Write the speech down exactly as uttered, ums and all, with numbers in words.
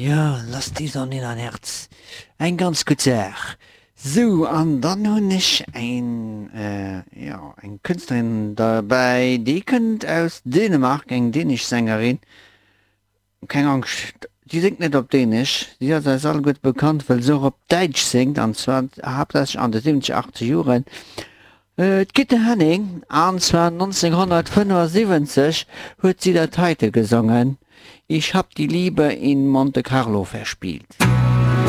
Jo, Lass die Sonne in dein Herz. Eng ganz gutt Saach. Sou, an dann hunn ech eng, jo, eng Kënschtlerin derbäi, déi kënnt aus Dänemark, eng dänesch Sängerin. Keng Angscht, déi séngt net op Dänesch, si ass eis all gutt bekannt, well se och op Däitsch séngt, an zwar haaptsächlech an de siwwenzeg, achtzeger Joren. D'Gitte Henning, an zwar nonzénghonnertfënnefasiwwenzeg huet si dat heite gesongen, Ich hab die Liebe in Monte Carlo verspielt.